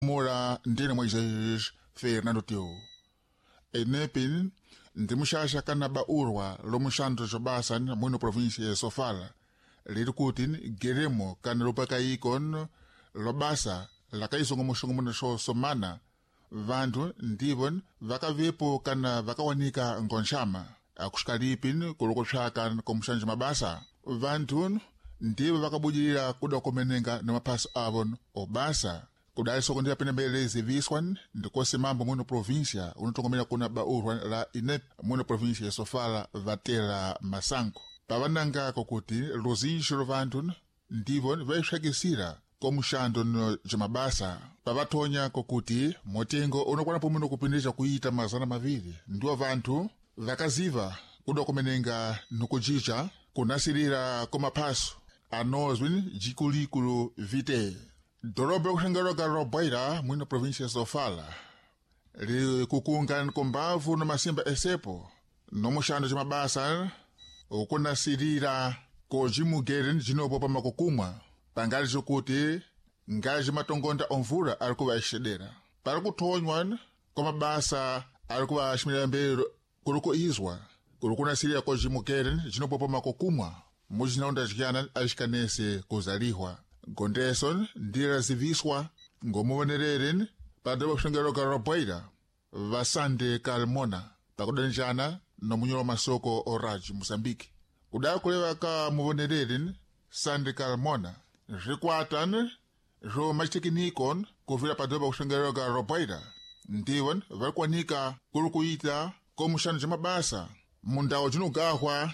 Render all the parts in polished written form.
Mora ndine Moisés Fernando Teu. Enepin ndi muxaxa kana baurwa lomuxandro xobasa muno província ya Sofala liri kuti geremo kana lupakaiko lobasa lakaisongomoxongomono xo somana vantu ndivo vakavepo kana vakawanika ngonxama akuxikalipi kulukuxaka komuxanja mabasa vantu ndivo vakabudilila kuda kumenenga na maphaso avo obasa kudali soko ndi apene mbele ziviswa ndikosi mambo muno província unotongomela kuna baurwa la INEP muno província ya Sofala vatela masango pavananga kokuti luzinji lovantu ndivo vaixakisira komuxando jomabasa pavathonya kokuti motengo unokwana pomwe kupindisha kuita 200 ndiwo vanthu vakaziva kuda kumenenga nikujica kunasilira komaphaso anozwi jikulikulu vite doroba yakuxengeroka roboira mwino província ya Sofala likukunga kombavu no masimba esepo nomuxando ca ukunasilira kojimugere jinopo pamakukumwa pangali zokuti ngazi matongonda omvula ali kuva exedera pali kuthonywa kwa mabasa ali kuva aximilira mbele kuli kuizwa kuli kunasilira kojimugere jinopo pamakukumwa mujinaunda jiyana axikanese kuzalihwa gondeso ndiraziviswa ngomuvonerere padoroba kuxengeroka roboira vasande kalmona pakudanjana nomunyolo wa masoko oraj moçambique kudai kuleva ka muvonerere sande kalmona zvikwata zvo machitekniko kuvira padoroba kuxengeroka roboira ndivo varikuwanika kuri kuita komuxano ca mabasa mundawu jinogahwa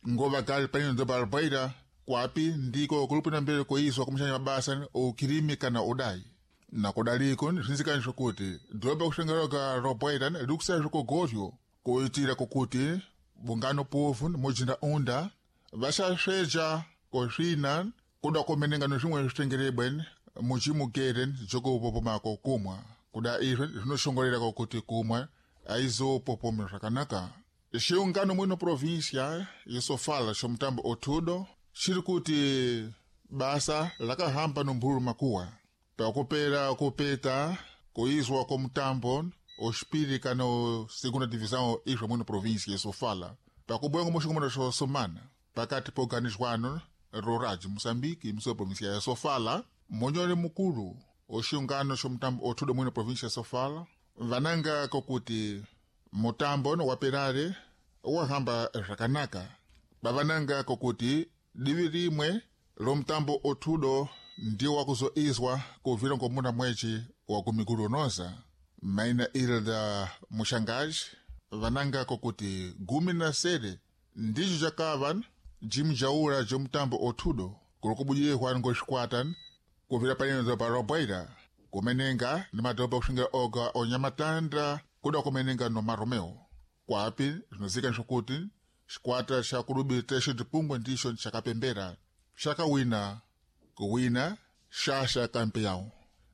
ngova gali panino doroba roboira kwapi ndiko kulupina mbele kuiswa kumuxanja mabasa ukilimi kana udai nakudaliko zvinzikani zvokuti doroba kuxengeroka roboira likusaya zvokogoryo kuitira kokuti bungano povu mujinda unda vaxaxweja kosvina kuda kumenenga no zvimwe zvitengerebwe muchimugere jokupopomako kumwa kuda izvo zvinoxongorera kokuti kumwa aizopopome zvakanaka xiungano mwino província yesofala xomutambo otudo xiri kuti basa lakahamba nomphulu makuwa pakupera kupeta kuizwa komutambo oxipiri kana segunda divisão izvo mwino província yesofala pakubwengo muxingomano xo somana pakati po organizwano roraj moçambique mso província ya sofala monyole mukulu oxungano xomutambo othudo mwino província ya sofala vananga kokuti mutambo waperare wahamba zvakanaka pavananga kokuti divi rimwe lomutambo othudo ndiwo wakuzoizwa kuvira ngomuna mwechi wa kumigulu unoza maina ilda muxangaji vananga kokuti 17 ndicho cakava jimjaula jomutambo othudo kuli kubudilihwa ngoxikwata kuvira paneno pa roboira kumenenga ni madoroba kuxingela oga onyamatanda kuda kumenenga no maromeo kwapi zvinozika zvokuti xikwata xa kulubi texo dipungwe ndixo xakapembera xakawina kuwina xaxa kampeyawu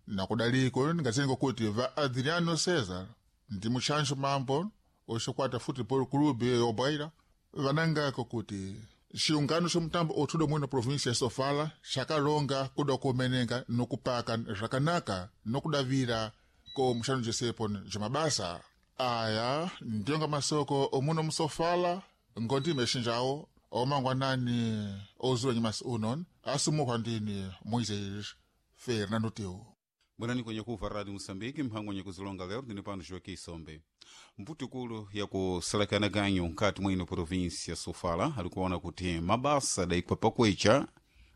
nakudaliko ningazenga kuti va adriano cesar ndi muxanxo mambo oxikwata futebol clube yoboira vananga kokuti xiungano xomutambo othudo mwino província ya sofala xakalonga kuda kumenenga nokupaka zvakanaka nokudavira ko muxano jesepo jomabasa aya ndionga masoko omuno musofala ngondime exinjawo omangwanani ozula nyimasi uno asumukhwa ndini moisés fernando teu bwerani kwenye kuva radio moçambique mphango wenye kuzilonga lero ndine pano joaquim sombe mputukulu yakusalakana ganyu nkati mwino província sofala alikuona kuti mabasa adayikwa pakwecha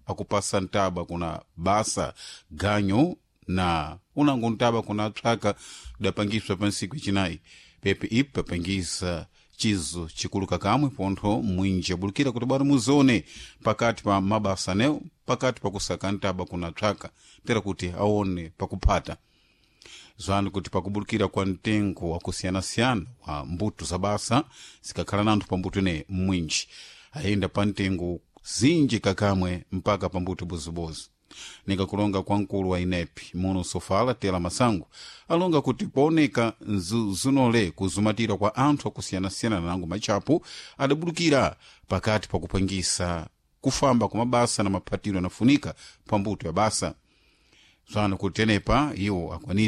akupasa ntaba kuna basa ganyu na unango ntaba kuna psaka dapangiswa pa ntsiku icinayi pepe ipi papangisa chizo chikulu kakamwe pontho mwinji abulukira kuti bwana muzone pakati pa mabasa anewo pakati pakusaka ntaba kuna psaka tera kuti aone pakuphata zwani kuti pakubulukira kwa mtengo wakusiyanasiyana wa mbuto za basa zikakhala nanthu pa mbuto ineyi mwinji ayenda pa mtengo zinji kakamwe mpaka pa mbuto bozibozi nikakulonga kwa mkulu wa inepi muno sofala tela masango alonga kuti pooneka zunole kuzumatira kwa anthu akusiyanasiyana nango machapo adabulukira pakati pakupangisa kufamba kwa mabasa na maphatiro anafunika pa mbuto ya basa zwano kuti tenepa iwo akwanisa